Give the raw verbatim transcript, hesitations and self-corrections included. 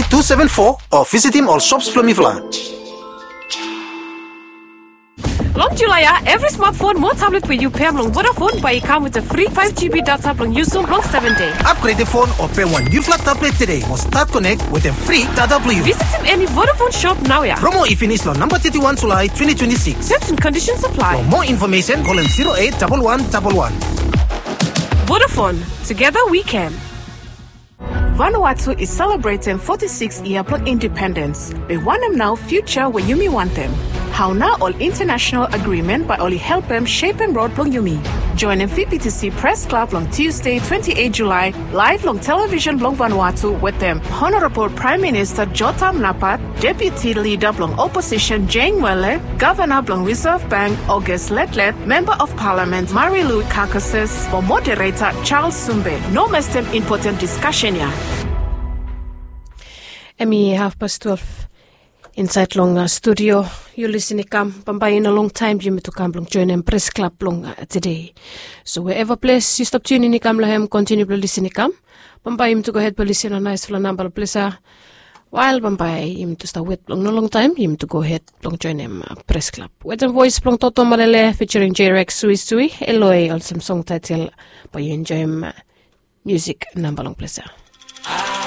two seven four o visitim ol shops blong mifala. Long Julai ya, evri smartphone mo tablet we yu pem long Vodafone bae i kam wetem fri five G B data blong yusum long seven dei. Upgrade phone o pem wan niufala tablet tede mo stat connect wetem fri data blong yu. Visitim eni Vodafone shop naoia. Promo i finis long namba thirty-one Julai twenty twenty-six. Terms and conditions apply. For more information, call em zero eight double one double one. Vodafone, together we can. Vanuatu is celebrating forty-six year blong independence. Be wanem nao future we yumi wantem? Hao nao ol international agreement bae oli helpem shepem rod blong yumi? Joinem V B T C Press Club long Tuesday twenty-eight Julai, live long television blong Vanuatu wetem Honorable Prime Minister Jotam Napat, Deputy Leader blong Opposition Jane Wele, Governor blong Reserve Bank August Letlet, Member of Parliament Marilou Carcasses, mo Moderator Charles Sumbe. No mestem important discussion ya. Hemi hafpas twelve insaed long studio. Yu lisin i kam, bambae i no longtaem yumi tu kam blong joenem Pres Klab blong tede. So wherever ples yu stap tiunin i kam long hem, kontiniu blong lisin i kam. Bambae yumi tu gohed blong lisin long naesfala namba long ples ya. Wael bambae yumi tu stap wet blong no longtaem yumi tu gohed blong joenem Pres Klab wetem voes blong Toto Malele featuring J-Rex, Sui Sui, Eloi, olsem song taetel. Bae yu enjoem miusik namba long ples ya.